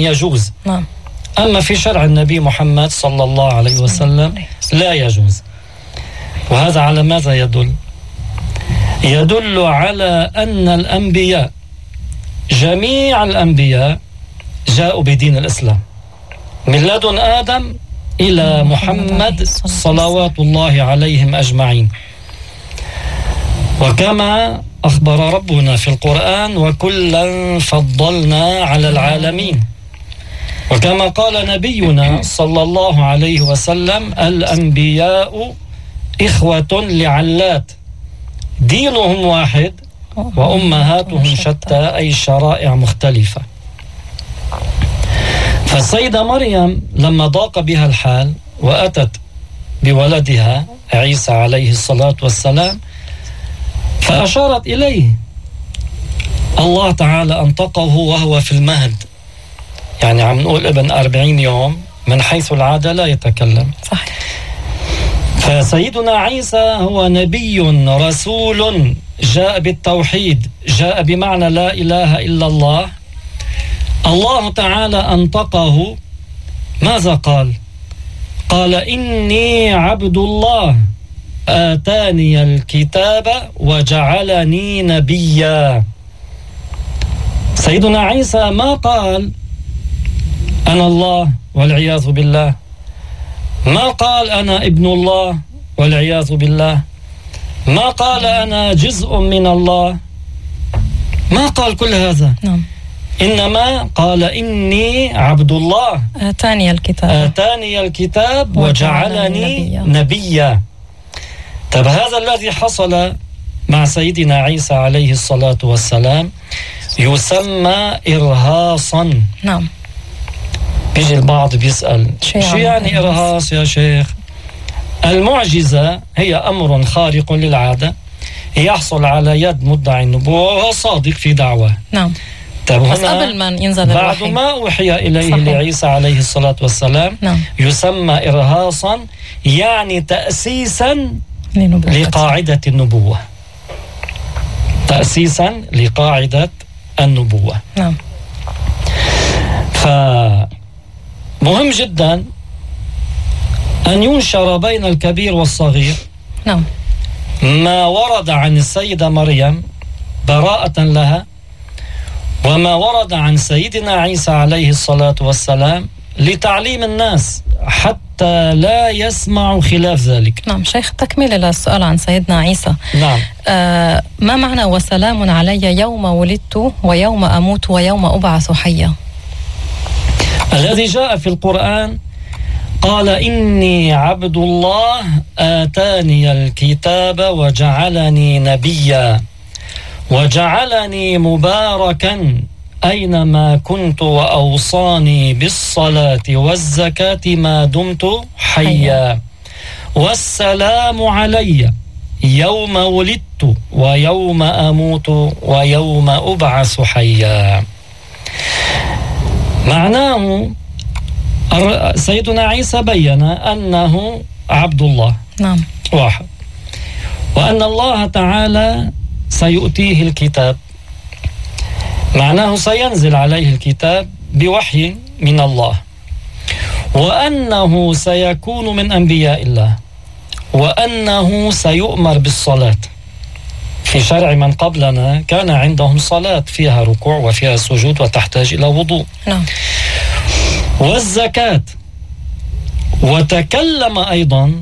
يجوز. نعم. أما في شرع النبي محمد صلى الله عليه وسلم لا يجوز. وهذا على ماذا يدل؟ يدل على أن الأنبياء جميع الأنبياء جاءوا بدين الإسلام من لدن آدم إلى محمد صلوات الله عليهم أجمعين. وكما أخبر ربنا في القرآن وكلا فضلنا على العالمين. وكما قال نبينا صلى الله عليه وسلم الأنبياء إخوة لعلات دينهم واحد وأمهاتهم شتى، أي شرائع مختلفة. فالسيدة مريم لما ضاق بها الحال وأتت بولدها عيسى عليه الصلاة والسلام فأشارت إليه، الله تعالى أنطقه وهو في المهد، يعني عم نقول ابن 40 يوم من حيث العادة لا يتكلم. صحيح. فسيدنا عيسى هو نبي رسول جاء بالتوحيد، جاء بمعنى لا إله إلا الله. الله تعالى أنطقه، ماذا قال؟ قال إني عبد الله آتاني الكتاب وجعلني نبيا. سيدنا عيسى ما قال أنا الله والعياذ بالله، ما قال أنا ابن الله والعياذ بالله، ما قال أنا جزء من الله، ما قال كل هذا. نعم. إنما قال إني عبد الله آتاني الكتاب وجعلني نبيا. طب هذا الذي حصل مع سيدنا عيسى عليه الصلاة والسلام يسمى إرهاصا. نعم. بيجي البعض بيسأل شو يعني إرهاص يا شيخ؟ المعجزة هي أمر خارق للعادة يحصل على يد مدعي النبوة وهو صادق في دعوة. نعم. بس قبل ما ينزل بعد الوحي، ما أوحي إليه صحيح. لعيسى عليه الصلاة والسلام. نعم. يسمى إرهاصا، يعني تأسيسا لقاعدة النبوة، تأسيسا لقاعدة النبوة. نعم. فمهم جدا أن ينشر بين الكبير والصغير. نعم. ما ورد عن السيدة مريم براءة لها، وما ورد عن سيدنا عيسى عليه الصلاة والسلام لتعليم الناس حتى لا يسمعوا خلاف ذلك. نعم. شيخ، تكملة للسؤال عن سيدنا عيسى. نعم. ما معنى وسلام علي يوم ولدت ويوم أموت ويوم أبعث حيا؟ الذي جاء في القرآن قال إني عبد الله آتاني الكتاب وجعلني نبيا وجعلني مباركا أينما كنت وأوصاني بالصلاة والزكاة ما دمت حيا والسلام علي يوم ولدت ويوم أموت ويوم أبعث حيا. معناه سيدنا عيسى بيّن أنه عبد الله. نعم. واحد، وأن الله تعالى سيؤتيه الكتاب، معناه سينزل عليه الكتاب بوحي من الله، وأنه سيكون من أنبياء الله، وأنه سيؤمر بالصلاة. في شرع من قبلنا كان عندهم صلاة فيها ركوع وفيها سجود وتحتاج إلى وضوء. نعم. والزكاة. وتكلم أيضا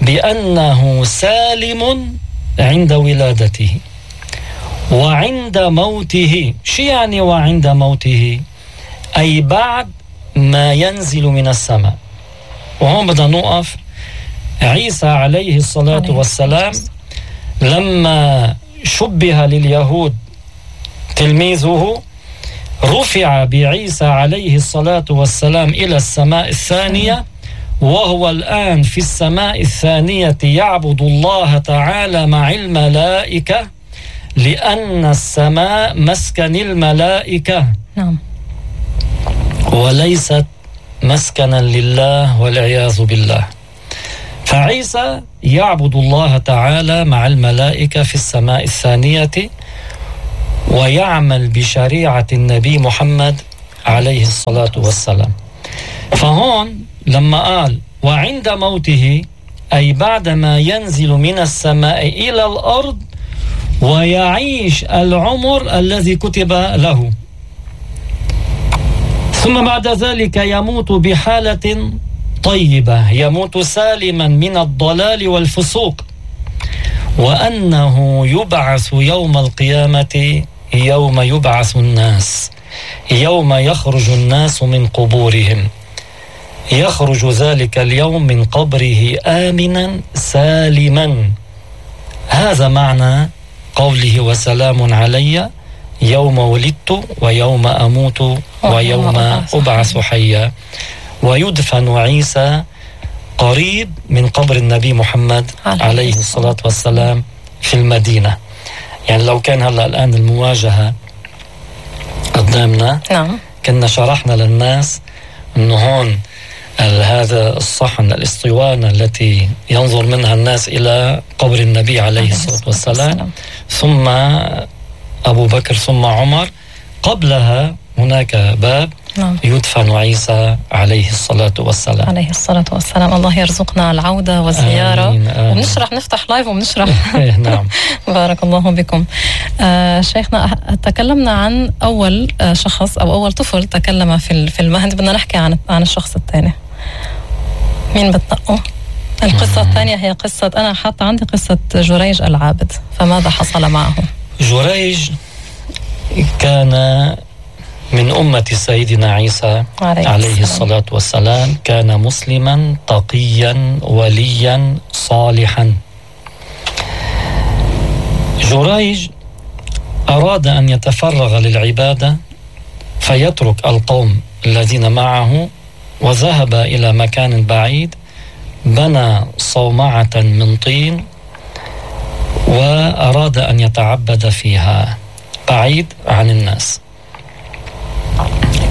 بأنه سالم عند ولادته وعند موته. شو يعني وعند موته؟ أي بعد ما ينزل من السماء. وهون بدنا نوقف. عيسى عليه الصلاة والسلام لما شبه لليهود تلميذه رفع بعيسى عليه الصلاة والسلام إلى السماء الثانية، وهو الآن في السماء الثانية يعبد الله تعالى مع الملائكة، لأن السماء مسكن الملائكة. نعم. وليست مسكنا لله والعياذ بالله. فعيسى يعبد الله تعالى مع الملائكة في السماء الثانية، ويعمل بشريعة النبي محمد عليه الصلاة والسلام. فهون لما قال وعند موته، أي بعدما ينزل من السماء إلى الأرض ويعيش العمر الذي كتب له، ثم بعد ذلك يموت بحالة طيبة، يموت سالما من الضلال والفسوق، وأنه يبعث يوم القيامة يوم يبعث الناس، يوم يخرج الناس من قبورهم، يخرج ذلك اليوم من قبره آمنا سالما. هذا معنى قوله وسلام علي يوم ولدت ويوم أموت ويوم أبعث حيا. ويدفن عيسى قريب من قبر النبي محمد عليه الصلاة والسلام في المدينة. يعني لو كان هلأ الآن المواجهة قدامنا، كنا شرحنا للناس أنه هون هذا الصحن، الاسطوانة التي ينظر منها الناس إلى قبر النبي عليه الصلاة والسلام، ثم أبو بكر ثم عمر، قبلها هناك باب يدفن عيسى عليه الصلاة والسلام. عليه الصلاة والسلام. الله يرزقنا العودة والزيارة. آمين آمين. وبنشرح، نفتح لايف وبنشرح. نعم. بارك الله بكم. شيخنا، تكلمنا عن أول شخص أو أول طفل تكلم في المهد. بدنا نحكي عن الشخص الثاني. مين بتنقوا؟ القصة الثانية هي قصة، أنا حاطة عندي قصة جريج العابد، فماذا حصل معه؟ جريج كان من أمة سيدنا عيسى عليه الصلاة والسلام، كان مسلما تقيا وليا صالحا. جريج أراد أن يتفرغ للعبادة فيترك القوم الذين معه، وذهب إلى مكان بعيد، بنى صومعة من طين وأراد أن يتعبد فيها بعيد عن الناس.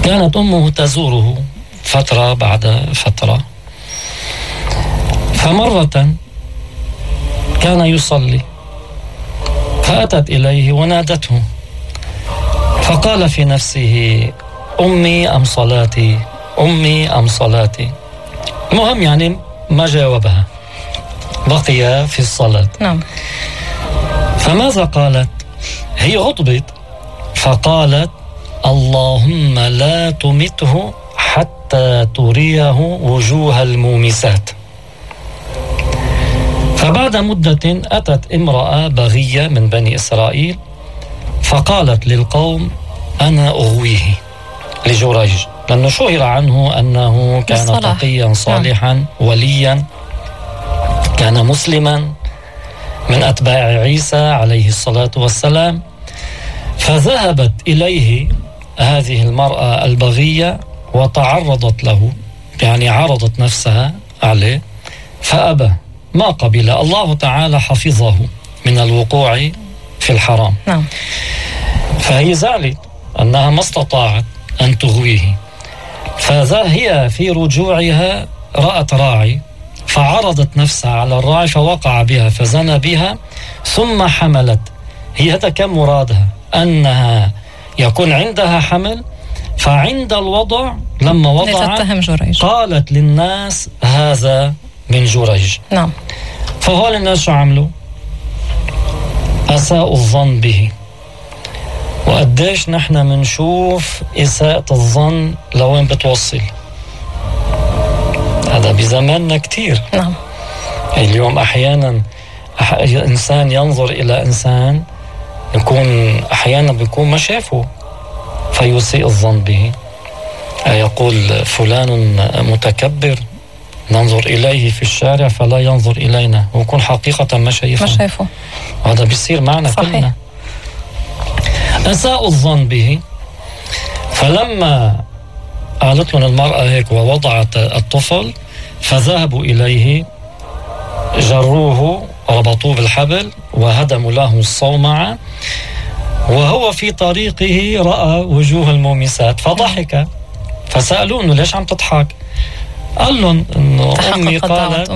كانت أمه تزوره فترة بعد فترة، فمرة كان يصلي فأتت إليه ونادته، فقال في نفسه أمي أم صلاتي، أمي أم صلاتي. المهم يعني ما جاوبها، بقي في الصلاة. نعم. فماذا قالت؟ هي غضبت فقالت اللهم لا تمته حتى تريه وجوه المومسات. فبعد مدة أتت امرأة بغية من بني إسرائيل فقالت للقوم أنا أغويه لجريج، لأنه شهر عنه أنه كان تقيا صالحا وليا، كان مسلما من أتباع عيسى عليه الصلاة والسلام. فذهبت إليه هذه المرأة البغية وتعرضت له، يعني عرضت نفسها عليه، فأبى، ما قبل. الله تعالى حفظه من الوقوع في الحرام. نعم. فهي زعلت أنها ما استطاعت أن تغويه، فهي في رجوعها رأت راعي فعرضت نفسها على الراعي فوقع بها فزنى بها ثم حملت. هي هذا كان مرادها، أنها يكون عندها حمل، فعند الوضع لما وضعت قالت للناس هذا من جريج. نعم. فهول الناس شو عملوا؟ أساءوا الظن به. وقديش نحن منشوف إساءة الظن لوين بتوصل. هذا بزماننا كتير. نعم. اليوم أحيانا إنسان ينظر إلى إنسان يكون أحيانا بيكون ما شافه فيسيء الظن به. يقول فلان متكبر ننظر إليه في الشارع فلا ينظر إلينا، ويكون حقيقة ما شايفه. هذا بيصير معنا كلنا. أساءوا الظن به. فلما قالت لهم المرأة هيك ووضعت الطفل فذهبوا إليه، جروه ربطوه بالحبل وهدموا له الصومعة، وهو في طريقه رأى وجوه المومسات فضحك. فسألوه إنه ليش عم تضحك؟ قال لهم إنه أمي قالت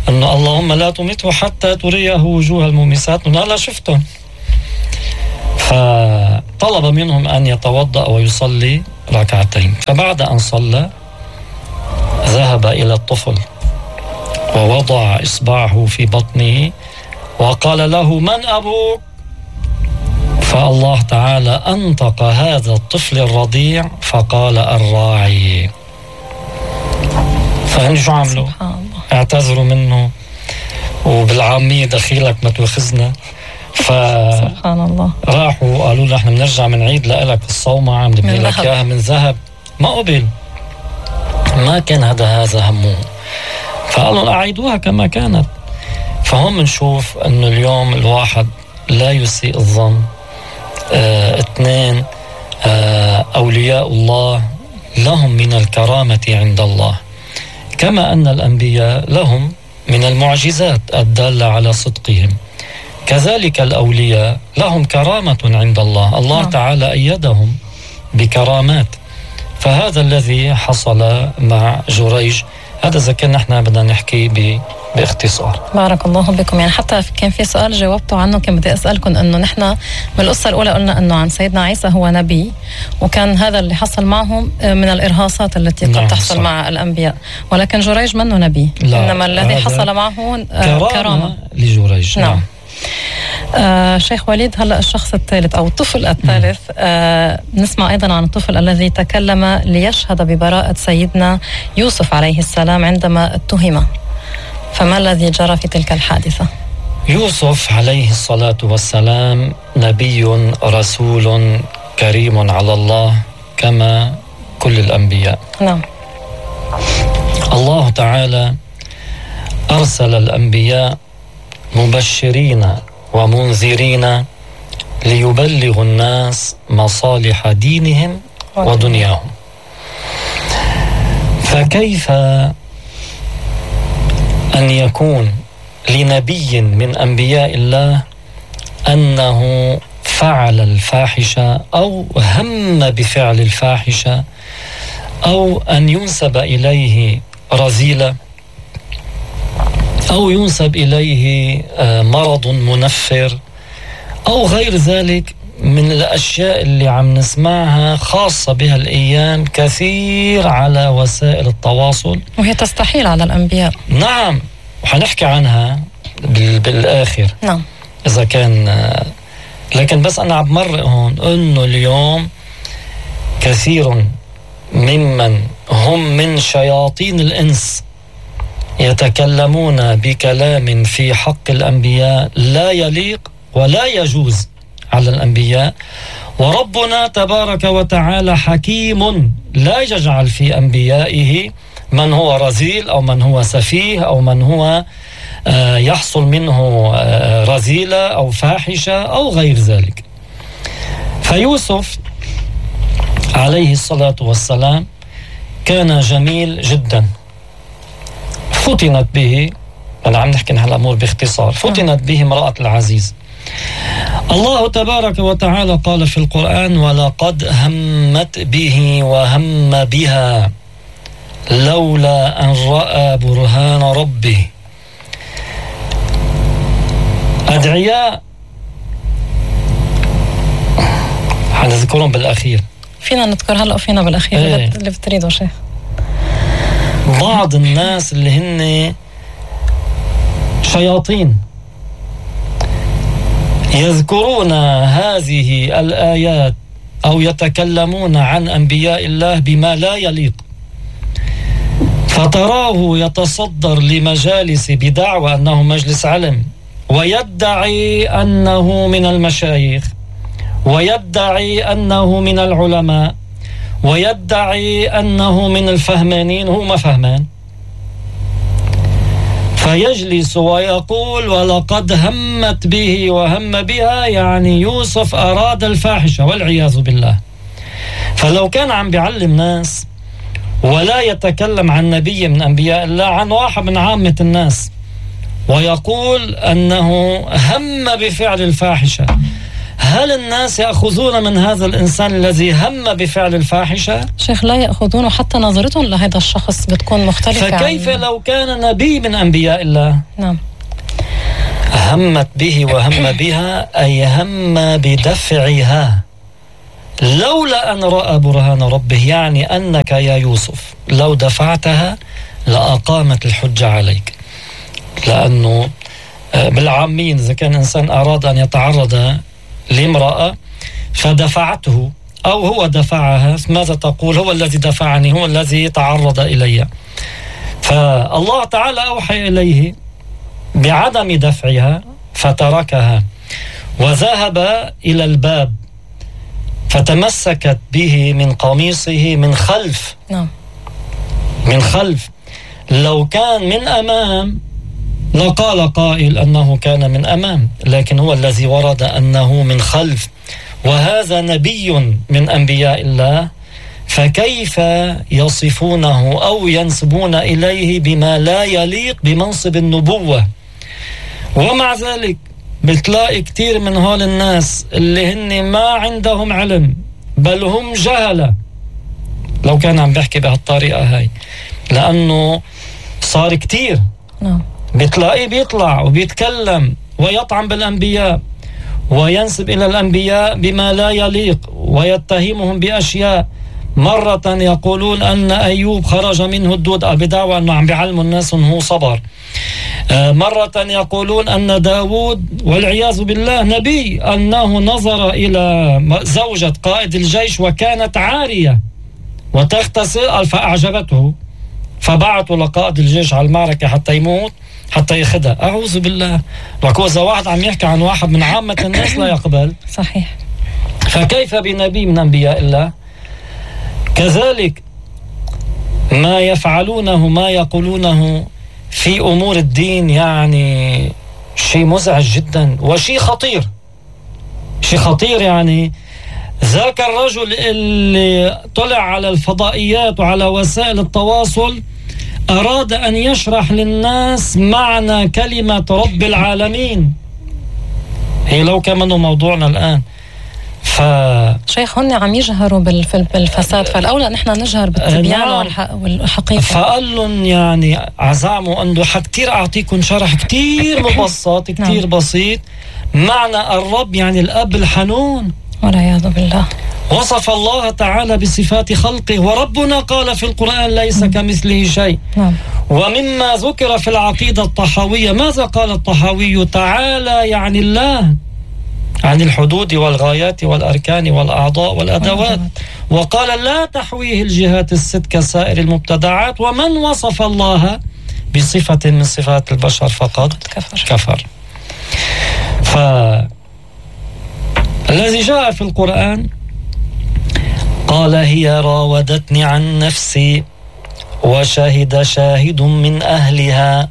إنه اللهم لا تمته حتى تريه وجوه المومسات، إنه لا شفتهم. فطلب منهم أن يتوضأ ويصلي ركعتين. فبعد أن صلى ذهب إلى الطفل ووضع إصبعه في بطنه وقال له: من أبوك؟ فالله تعالى أنطق هذا الطفل الرضيع فقال: الراعي. فهن شو عملوا؟ اعتذروا منه وبالعامية دخيلك ما توخزنا. سبحان الله. راحوا قالوا له: نحن بنرجع من عيد لك الصومعة بنبني لك إياها من ذهب. ما قبل، ما كان هذا همه، فقالوا أعيدوها كما كانت. فهم نشوف أنه اليوم الواحد لا يسيء الظن. اثنين، أولياء الله لهم من الكرامة عند الله، كما أن الأنبياء لهم من المعجزات الدالة على صدقهم، كذلك الأولياء لهم كرامة عند الله. الله تعالى أيدهم بكرامات. فهذا الذي حصل مع جريج. هذا إذا كان نحن بدنا نحكي باختصار. بارك الله بكم. يعني حتى كان في سؤال جاوبتوا عنه، كان بدي أسألكم أنه نحن من القصة الأولى قلنا أنه عن سيدنا عيسى هو نبي، وكان هذا اللي حصل معهم من الإرهاصات التي قد تحصل صح. مع الأنبياء، ولكن جريج منه نبي، إنما الذي حصل معه كرامة لجريج. نعم. شيخ وليد، هلأ الشخص الثالث أو الطفل الثالث، نسمع أيضا عن الطفل الذي تكلم ليشهد ببراءة سيدنا يوسف عليه السلام عندما اتهم، فما الذي جرى في تلك الحادثة؟ يوسف عليه الصلاة والسلام نبي رسول كريم على الله كما كل الأنبياء. نعم. الله تعالى أرسل الأنبياء مبشرين ومنذرين ليبلغوا الناس مصالح دينهم ودنياهم. فكيف أن يكون لنبي من أنبياء الله أنه فعل الفاحشة أو هم بفعل الفاحشة أو أن ينسب إليه رذيلة أو ينسب إليه مرض منفر أو غير ذلك من الأشياء اللي عم نسمعها خاصة بها الأيام كثير على وسائل التواصل، وهي تستحيل على الأنبياء. نعم، وحنحكي عنها بالآخر. نعم. إذا كان لكن بس أنا عم مرق هون أنه اليوم كثير ممن هم من شياطين الإنس يتكلمون بكلام في حق الأنبياء لا يليق ولا يجوز على الأنبياء، وربنا تبارك وتعالى حكيم لا يجعل في أنبيائه من هو رذيل أو من هو سفيه أو من هو يحصل منه رذيلة أو فاحشة أو غير ذلك. فيوسف عليه الصلاة والسلام كان جميل جدا، فتنت به، أنا عم نحكي عن هالأمور باختصار، فتنت به امرأة العزيز. الله تبارك وتعالى قال في القرآن: ولقد همت به وهم بها لولا أن رأى برهان ربه. أدعياء حنذكرهم بالأخير، فينا نذكر هلأ وفينا بالأخير اللي بتريده شيخ. بعض الناس اللي هن شياطين يذكرون هذه الآيات أو يتكلمون عن أنبياء الله بما لا يليق، فتراه يتصدر لمجالس بدعوى أنه مجلس علم، ويدعي أنه من المشايخ، ويدعي أنه من العلماء، ويدعي أنه من الفهمانين، هو ما فهمان، فيجلس ويقول: ولقد همت به وهم بها، يعني يوسف أراد الفاحشة والعياذ بالله. فلو كان عم بيعلم ناس ولا يتكلم عن نبي من أنبياء الله، عن واحد من عامة الناس، ويقول أنه هم بفعل الفاحشة، هل الناس يأخذون من هذا الإنسان الذي هم بفعل الفاحشة؟ شيخ لا يأخذون، حتى نظرتهم لهذا الشخص بتكون مختلفة. فكيف لو كان نبي من أنبياء الله؟ نعم. همت به وهم بها أي هم بدفعها، لولا أن رأى برهان ربه، يعني أنك يا يوسف لو دفعتها لأقامت الحجة عليك. لأنه بالعامين إذا كان إنسان أراد أن يتعرض لامرأة فدفعته أو هو دفعها، ماذا تقول؟ هو الذي دفعني، هو الذي تعرض إلي. فالله تعالى أوحى إليه بعدم دفعها فتركها وذهب إلى الباب فتمسكت به من قميصه من خلف. من خلف. لو كان من أمام لقال قائل أنه كان من أمام، لكن هو الذي ورد أنه من خلف، وهذا نبي من أنبياء الله، فكيف يصفونه أو ينسبون إليه بما لا يليق بمنصب النبوة؟ ومع ذلك بتلاقي كتير من هول الناس اللي هن ما عندهم علم بل هم جهلة، لو كان عم بحكي بهالطريقة هاي، لأنه صار كتير بتلاقيه بيطلع وبيتكلم ويطعن بالأنبياء وينسب إلى الأنبياء بما لا يليق ويتهمهم بأشياء. مرة يقولون أن أيوب خرج منه الدود بدعوى أنه عم بيعلموا الناس أنه هو صبر. مرة يقولون أن داود والعياذ بالله نبي، أنه نظر إلى زوجة قائد الجيش وكانت عارية وتغتسل فأعجبته، فبعثوا لقائد الجيش على المعركة حتى يموت حتى ياخدها. أعوذ بالله. وإذا واحد عم يحكي عن واحد من عامة الناس لا يقبل. صحيح. فكيف بنبي من أنبياء الله؟ كذلك ما يفعلونه ما يقولونه في أمور الدين يعني شيء مزعج جدا وشيء خطير. شيء خطير. يعني ذاك الرجل اللي طلع على الفضائيات وعلى وسائل التواصل أراد أن يشرح للناس معنى كلمة رب العالمين، هي لو كمان موضوعنا الآن. شيخ هن عم يجهروا بالفساد، فالأولى نحن نجهر بالتبيان والحقيقة. فقال لهم يعني عزاموا أنه كتير أعطيكم شرح كتير مبسط كتير بسيط. معنى الرب يعني الأب الحنون، والعياذ بالله. وصف الله تعالى بصفات خلقه، وربنا قال في القرآن ليس كمثله شيء. ومما ذكر في العقيدة الطحاوية، ماذا قال الطحاوي؟ تعالى يعني الله، عن الحدود والغايات والأركان والأعضاء والأدوات، وقال لا تحويه الجهات الست كسائر المبتدعات، ومن وصف الله بصفة من صفات البشر فقد كفر. فالذي جاء في القرآن قال هي راودتني عن نفسي وشهد شاهد من أهلها.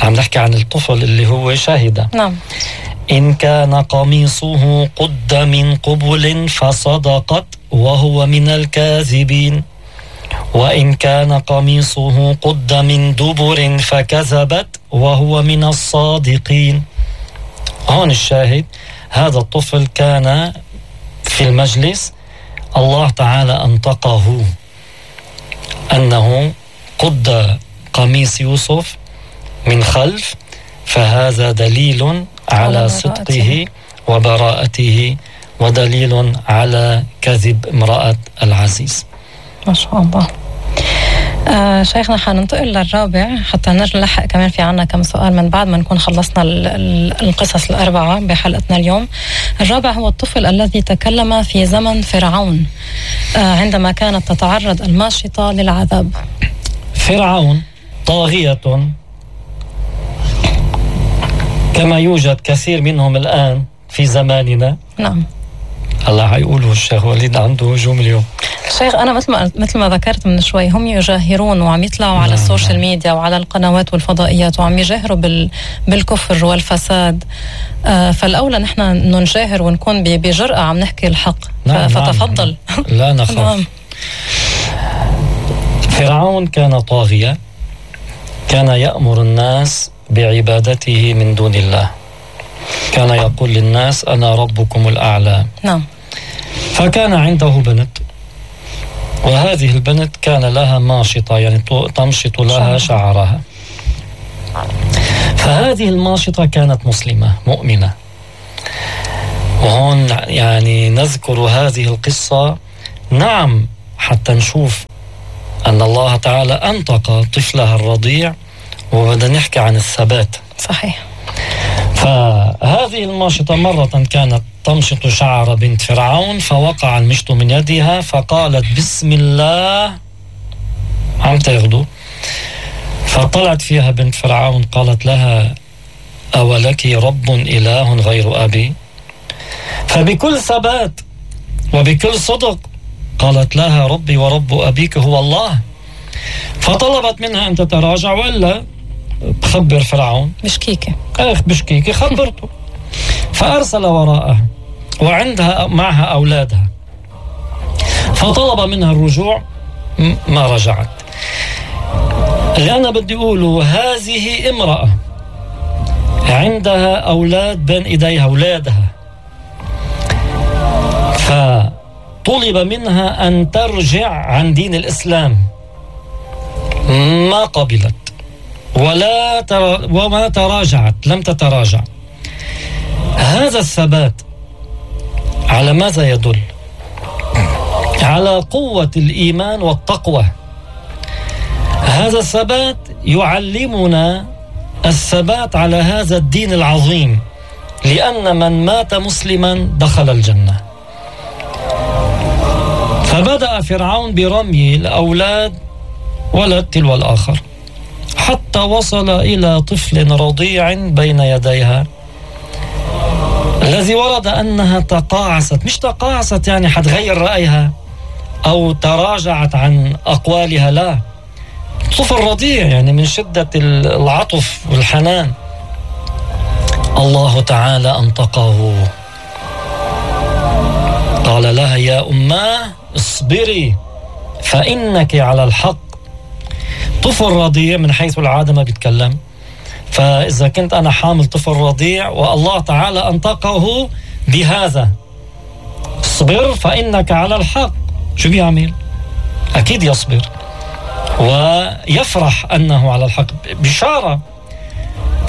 عم نحكي عن الطفل اللي هو شاهد. إن كان قميصه قد من قبل فصدقت وهو من الكاذبين، وإن كان قميصه قد من دبر فكذبت وهو من الصادقين. هون الشاهد، هذا الطفل كان في المجلس، الله تعالى أنطقه أنه قد قميص يوسف من خلف، فهذا دليل على صدقه وبراءته ودليل على كذب امرأة العزيز. ما شاء الله. شيخنا حننتقل للرابع حتى نلحق كمان في عنا كم سؤال من بعد ما نكون خلصنا القصص الأربعة بحلقتنا اليوم. الرابع هو الطفل الذي تكلم في زمن فرعون عندما كانت تتعرض الماشطة للعذاب. فرعون طاغية كما يوجد كثير منهم الآن في زماننا. الله حيقوله الشيخ وليد عنده هجوم اليوم. شيخ أنا مثل ما ذكرت من شوي، هم يجاهرون وعم يطلعوا على السوشيال ميديا وعلى القنوات والفضائيات وعم يجاهروا بالكفر والفساد. فالأولى نحن نجاهر ونكون بجرأة عم نحكي الحق. فتفضل. لا نخاف. فرعون كان طاغية، كان يأمر الناس بعبادته من دون الله، كان يقول للناس أنا ربكم الأعلى. فكان عنده بنت، وهذه البنت كان لها ماشطة، يعني تمشط لها شعرها. فهذه الماشطة كانت مسلمة مؤمنة، وهون يعني نذكر هذه القصة نعم حتى نشوف أن الله تعالى أنطق طفلها الرضيع، وبدنا نحكي عن الثبات. صحيح. فهذه الماشطة مرة كانت تمشط شعر بنت فرعون، فوقع المشط من يدها فقالت بسم الله، عم تاخده. فطلعت فيها بنت فرعون قالت لها أولك رب إله غير أبي؟ فبكل ثبات وبكل صدق قالت لها ربي ورب أبيك هو الله. فطلبت منها أن تتراجع ولا تخبر فرعون. بشكيكة بشكيكة خبرته. فأرسل وراءها وعندها معها أولادها، فطلب منها الرجوع ما رجعت. اللي أنا بدي أقوله هذه امرأة عندها أولاد بين إيديها أولادها، فطلب منها أن ترجع عن دين الإسلام، ما قبلت وما تراجعت، لم تتراجع. هذا الثبات على ماذا يدل؟ على قوة الإيمان والتقوى. هذا الثبات يعلمنا الثبات على هذا الدين العظيم، لأن من مات مسلما دخل الجنة. فبدأ فرعون برمي الأولاد ولد تلو الآخر حتى وصل إلى طفل رضيع بين يديها، الذي ورد أنها تقاعست، مش تقاعست يعني حتغير رأيها أو تراجعت عن أقوالها، لا، طفل رضيع يعني من شدة العطف والحنان. الله تعالى أنطقه، قال لها يا أماه اصبري فإنك على الحق. طفل رضيع من حيث العادة ما بيتكلم، فإذا كنت أنا حامل طفل رضيع والله تعالى أنطقه بهذا اصبر فإنك على الحق، شو بيعمل؟ أكيد يصبر ويفرح أنه على الحق، بشارة.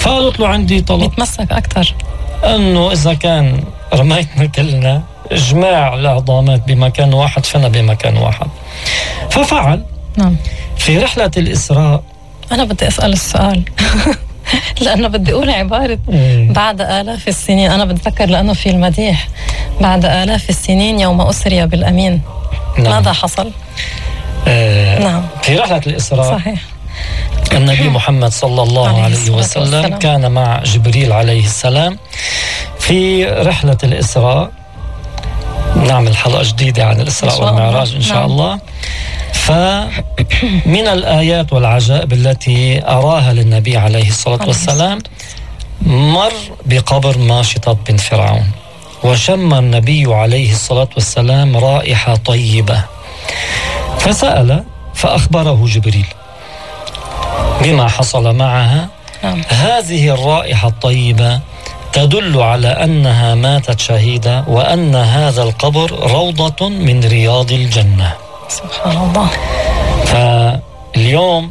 فقالت له عندي طلب، يتمسك أكتر، أنه إذا كان رميتنا كلنا إجماع العظامات بمكان واحد فأنا بمكان واحد. ففعل. نعم. في رحلة الإسراء أنا بدي أسأل السؤال لأنه بدي أقول عبارة بعد آلاف السنين. أنا بتذكر لأنه في المديح بعد آلاف السنين يوم أسري بالأمين. نعم. ماذا حصل؟ نعم. في رحلة الإسراء صحيح النبي محمد صلى الله عليه وسلم كان مع جبريل عليه السلام في رحلة الإسراء. نعمل حلقة جديدة عن الإسراء والمعراج إن شاء الله. فمن الآيات والعجائب التي أراها للنبي عليه الصلاة والسلام مر بقبر ماشطة بنت فرعون، وشم النبي عليه الصلاة والسلام رائحة طيبة، فسأل فأخبره جبريل بما حصل معها. هذه الرائحة الطيبة تدل على أنها ماتت شهيدة، وأن هذا القبر روضة من رياض الجنة. سبحان الله. فاليوم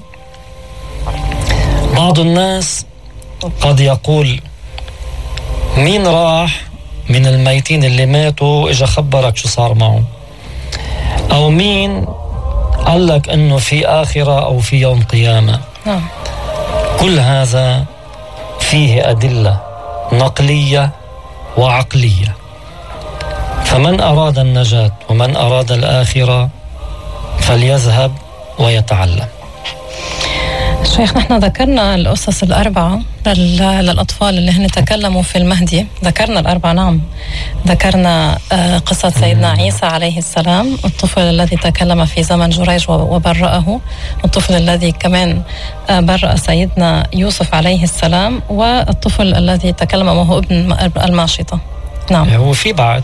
بعض الناس قد يقول مين راح من الميتين اللي ماتوا إجا خبرك شو صار معه، أو مين قال لك أنه في آخرة أو في يوم قيامة. كل هذا فيه أدلة نقلية وعقلية. فمن أراد النجاة ومن أراد الآخرة فليذهب ويتعلم. شيخ، نحن ذكرنا الأسس الأربعة للأطفال اللي هن تكلموا في المهدي. ذكرنا الأربعة، نعم. ذكرنا قصة سيدنا عيسى عليه السلام، الطفل الذي تكلم في زمن جريج وبرأه، الطفل الذي كمان برأ سيدنا يوسف عليه السلام، والطفل الذي تكلم وهو ابن الماشطة. نعم. هو في بعد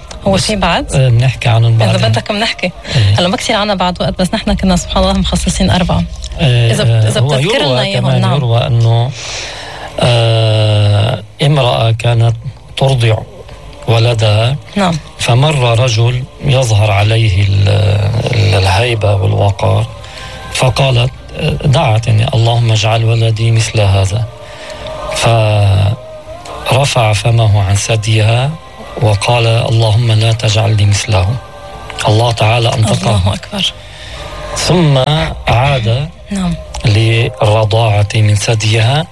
بنحكي عنهم بعد. إذا بدك بنحكي. هلا ما كثير عنا بعد وقت، بس نحن كنا سبحان الله مخصصين 4. إذا بتذكر لنا إياهم. نعم. يروى أنه امرأة كانت ترضع ولدها. نعم. فمر رجل يظهر عليه الهيبة والوقار، فقالت دعت يعني اللهم اجعل ولدي مثل هذا، فرفع فمه عن ثديها وقال اللهم لا تجعلني مثله. الله تعالى أنطقه. الله أكبر. ثم عاد للرضاعة من ثديها،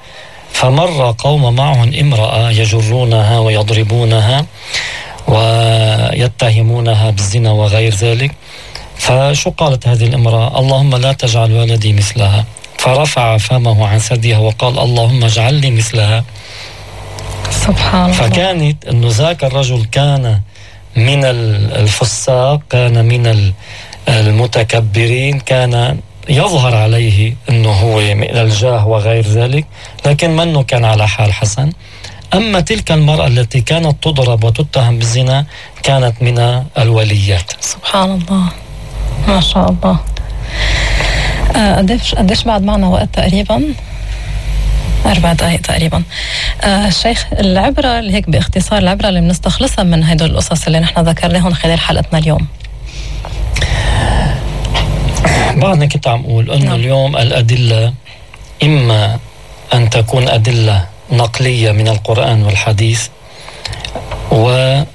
فمر قوم معهم امرأة يجرونها ويضربونها ويتهمونها بالزنا وغير ذلك. فشو قالت هذه الامرأة؟ اللهم لا تجعل ولدي مثلها. فرفع فمه عن ثديها وقال اللهم اجعلني مثلها. سبحان الله. فكانت انه ذاك الرجل كان من الفساق، كان من المتكبرين، كان يظهر عليه انه هو من الجاه وغير ذلك، لكن منه كان على حال حسن. اما تلك المرأة التي كانت تضرب وتتهم بالزنا كانت من الوليات. سبحان الله، ما شاء الله. قديش بعد معنا وقت؟ تقريبا 4 دقائق تقريبا. الشيخ، العبرة اللي هيك باختصار، العبرة اللي بنستخلصها من هدول القصص اللي نحن ذكرناهم خلال حلقتنا اليوم. بعدنا كنت عم أقول أنه اليوم الأدلة إما أن تكون أدلة نقلية من القرآن والحديث، وإما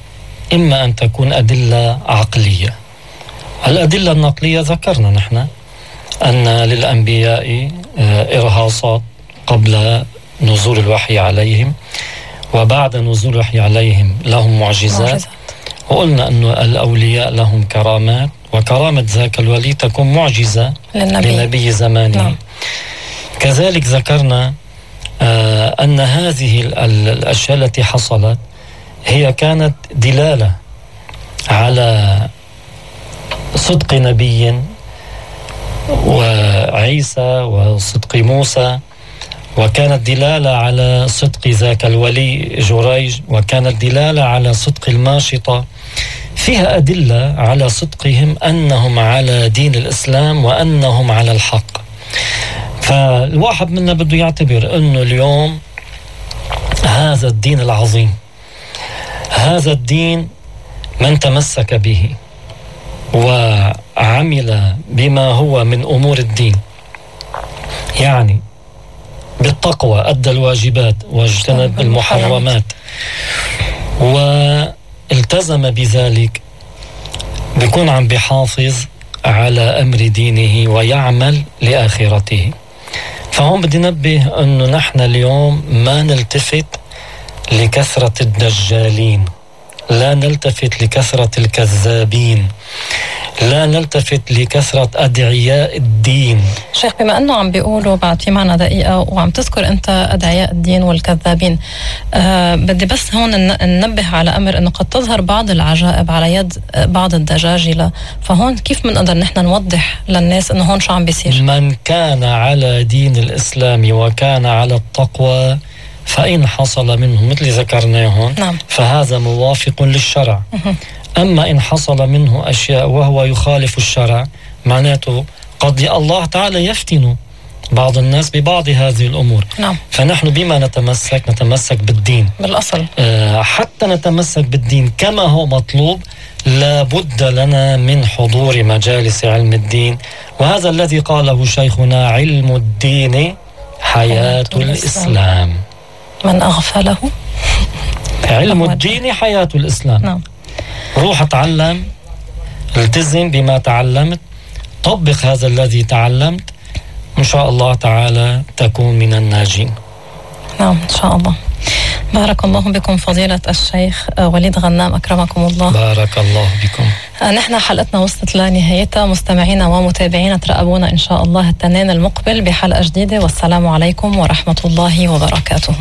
أن تكون أدلة عقلية. الأدلة النقلية ذكرنا نحن أن للأنبياء إرهاصات قبل نزول الوحي عليهم، وبعد نزول الوحي عليهم لهم معجزات. وقلنا أنه الأولياء لهم كرامات، وكرامة ذاك الولي تكون معجزة لنبي زمانه. كذلك ذكرنا أن هذه الأشياء التي حصلت هي كانت دلالة على صدق نبي وعيسى وصدق موسى، وكانت دلالة على صدق ذاك الولي جريج، وكانت دلالة على صدق الماشطة. فيها أدلة على صدقهم، أنهم على دين الإسلام وأنهم على الحق. فالواحد منا بده يعتبر أنه اليوم هذا الدين العظيم، هذا الدين من تمسك به وعمل بما هو من أمور الدين، يعني بالتقوى أدى الواجبات واجتنب المحرمات والتزم بذلك، بيكون عم بيحافظ على أمر دينه ويعمل لآخرته. فهم بدي نبه أنه نحن اليوم ما نلتفت لكثرة الدجالين، لا نلتفت لكثرة الكذابين، لا نلتفت لكثرة أدعياء الدين. شيخ، بما أنه عم بيقولوا بعد في معنا دقيقة وعم تذكر أنت أدعياء الدين والكذابين، بدي بس هون ننبه على أمر أنه قد تظهر بعض العجائب على يد بعض الدجاجلة. فهون كيف منقدر نحن نوضح للناس أنه هون شو عم بيصير؟ من كان على دين الإسلام وكان على التقوى فإن حصل منه مثل ذكرناهم فهذا موافق للشرع. أما إن حصل منه أشياء وهو يخالف الشرع، معناته قد الله تعالى يفتن بعض الناس ببعض هذه الأمور. فنحن بما نتمسك بالدين بالأصل. حتى نتمسك بالدين كما هو مطلوب، لابد لنا من حضور مجالس علم الدين، وهذا الذي قاله شيخنا: علم الدين حياة الإسلام. من أغفله علم الدين حياة الإسلام. روح اتعلم، التزم بما تعلمت، طبق هذا الذي تعلمت، إن شاء الله تعالى تكون من الناجين. نعم إن شاء الله. بارك الله بكم فضيلة الشيخ وليد غنام، أكرمكم الله. بارك الله بكم. نحن حلقتنا وصلت لنهايتها. مستمعينا ومتابعينا ترقبونا إن شاء الله التنين المقبل بحلقة جديدة، والسلام عليكم ورحمة الله وبركاته.